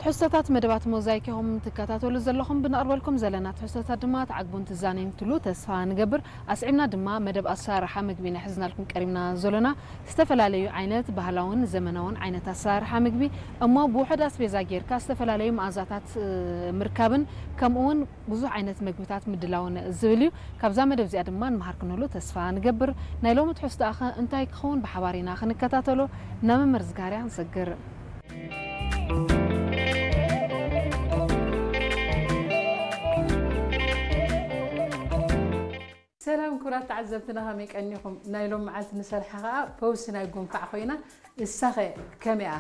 ትሕዝቶታት መደባት ሞዛይክ ኢኹም ትከታተሉ ዘለኹም። ብነቕርበልኩም ዘለና ትሕዝቶታት ድማ ትዓግቡን ትዛነዩን ትሉ ተስፋ ንገብር። ኣስዒብና ድማ መደብ ኣሰራርሓ ምግቢ ኢና ሒዝናልኩም ቀሪብና ዘሎና። ዝተፈላለዩ ዓይነት ባህላውን ዘመናውን ዓይነት ኣሰራርሓ ምግቢ እሞ ብውሑድ ኣስቤዛ ጌርካ ዝተፈላለዩ መኣዛታት፣ እ፣ ምርካብን ከምኡ እውን ብዙሕ ዓይነት ምግብታት ምድላውን ዝብል እዩ። ካብዛ መደብ እዚኣ ድማ ንመሃር ክንህሉ ተስፋ ንገብር። ናይ ሎሚ ትሕዝቶኣኸ እንታይ ክኸውን ብሓባር ኢና ክንከታተሎ ናብ መምህር ዝካርያ ንሰግር። ሰላም ክቡራት ተዓዘብትና፣ ከመይ ቀኒኹም? ናይ ሎም መዓልቲ ንሰርሓ ኸኣ ፈውሲ ናይ ጉንፋዕ ኮይና፣ እሳኸ ከመይ እያ?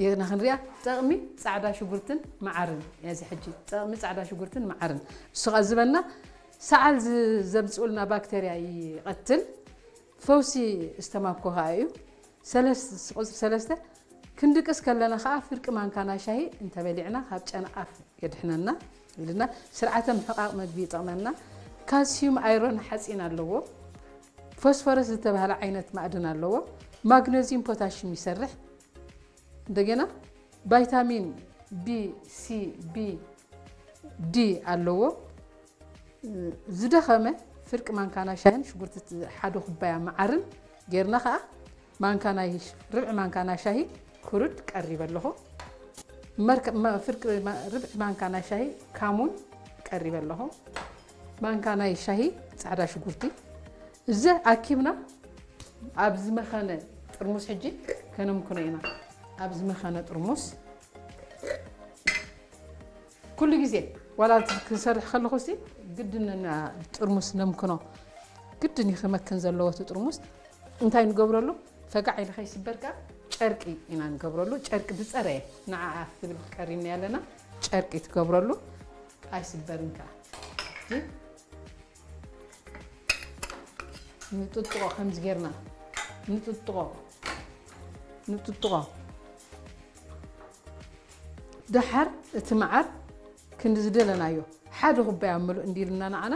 ኢና ክንሪኣ። ጠቕሚ ጻዕዳ ሽጉርትን መዓርን እያ። እዚ ሕጂ ጠቕሚ ጻዕዳ ሽጉርትን መዓርን፣ እሱ ኸኣ ዝበልና ሰዓል ዝ-፣ ዘምጽኡልና ባክተርያ ይቐትል፣ ፈውሲ እስተማኮ ኸኣ እዩ። ሰለስ-፣ ቁጽሪ ሰለስተ፣ ክንድቅስ ከለና ኸኣ ፍርቂ ማንካና ሻሂ እንተበሊዕና ካብ ጨንኣፍ የድሕነና ኢልና። ስርዓተ ምሕቃቕ መግቢ ይጠቕመና። ካልሲዩም፣ ኣይሮን፣ ሓጺን ኣለዎ። ፎስፎረስ ዝተባህለ ዓይነት ማዕድን ኣለዎ። ማግነዚዩም፣ ፖታሽም ይሰርሕ። እንደገና ቫይታሚን ቢ፣ ሲ፣ ቢ፣ ዲ ኣለዎ። ዝደኸመ ፍርቂ ማንካና ሻሂን ሽጉርቲ ሓደ ኩባያ መዓርን ጌርና ኸኣ ማንካና ይሽ-፣ ርብዒ ማንካና ሻሂ ክሩድ ቀሪበ ኣለኹ። መርከ-፣ መ-፣ ፍርቂ ማ-፣ ርብዒ ማንካና ሻሂ ካሙን ቀሪበ ኣለኹ። ማንካና ሻሂ ጻዕዳ ሽጉርቲ። እዚ ኣኪብና ኣብ ዝመኸነ ጥርሙስ ሕጂ ከነምክኖ ኢና። ኣብ ዝመኸነ ጥርሙስ ኩሉ ግዜ ዋላ ክንሰርሕ ከለኹ ሲ ግድን እና ጥርሙስ ነምክኖ። ግድን እዩ ክመክን ዘለዎ እቲ ጥርሙስ። እንታይ ንገብረሉ? ፈጋዕ ኢሉ ከይስበር ከኣ ጨርቂ ኢና ንገብረሉ። ጨርቂ ዝጸረየ ንዓኣ ክትብል ቀሪብና ኣለና። ጨርቂ ትገብረሉ ኣይስበርን ከኣ። እዚ ንጥጥቆ ከምዚ ጌርና ንጥጥቆ፣ ንጥጥቆ። ደሓር እቲ መዓር ክንዲ ዝደለናዮ ሓደ ኩባያ ምሉእ እንዲልና ንዓና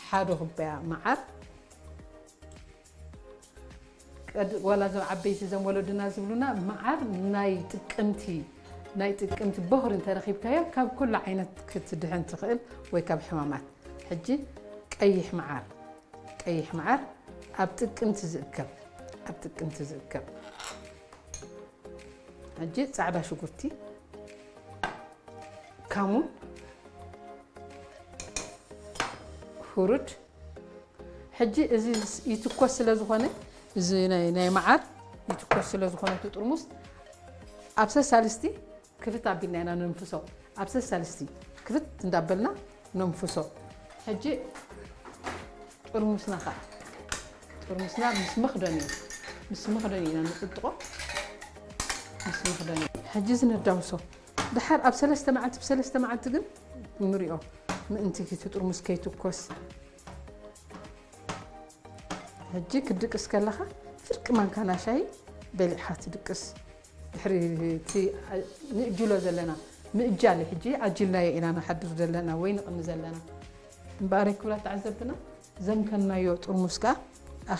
ሓደ ኩባያ መዓር። ቀድ-፣ ዋላ እዞም ዓበይቲ እዞም ወለድና ዝብሉና መዓር ናይ ጥቅምቲ፣ ናይ ጥቅምቲ ቦኽሪ እንተረኺብካዮ ካብ ኩሉ ዓይነት ክትድሕን ትኽእል ወይ ካብ ሕማማት። ሕጂ ቀይሕ መዓር፣ ቀይሕ መዓር ኣብ ጥቅምቲ ዝእከብ፣ ኣብ ጥቅምቲ ዝእከብ። ሕጂ ጻዕዳ ሽጉርቲ፣ ካሙን፣ ሁሩድ። ሕጂ እዚ ይትኮስ ስለ ዝኾነ፣ እዚ ናይ፣ ናይ መዓር ይትኮስ ስለ ዝኾነ እቲ ጥርሙስ ኣብ ሰሳልስቲ ክፍት ኣቢልና ኢና ነንፍሶ። ኣብ ሰሳልስቲ ክፍት እንዳበልና ነንፍሶ። ሕጂ ጥርሙስና ኸዓ፣ ጥርሙስና ምስ መኽደኑ፣ ምስ መኽደኑ ኢና ንጥጥቆ። ምስ መኽደኑ። ሕጂ እዚ ነዳውሶ። ድሓር ኣብ ሰለስተ መዓልቲ፣ ብሰለስተ መዓልቲ ግን ንሪኦ፣ ምእንቲ እቲ ጥርሙስ ከይትኮስ። ሕጂ ክድቅስ ከለኻ ፍርቂ ማንካና ሻሂ በሊዕኻ ትድቅስ። ድሕሪ እቲ ንእጅሎ ዘለና፣ ምእጃል ሕጂ ኣጅልናዮ ኢና ንሓድር ዘለና ወይ ንቕኒ ዘለና። እምበኣር ክብራት ተዓዘብትና፣ ዘምከናዮ ጥርሙስ ከኣ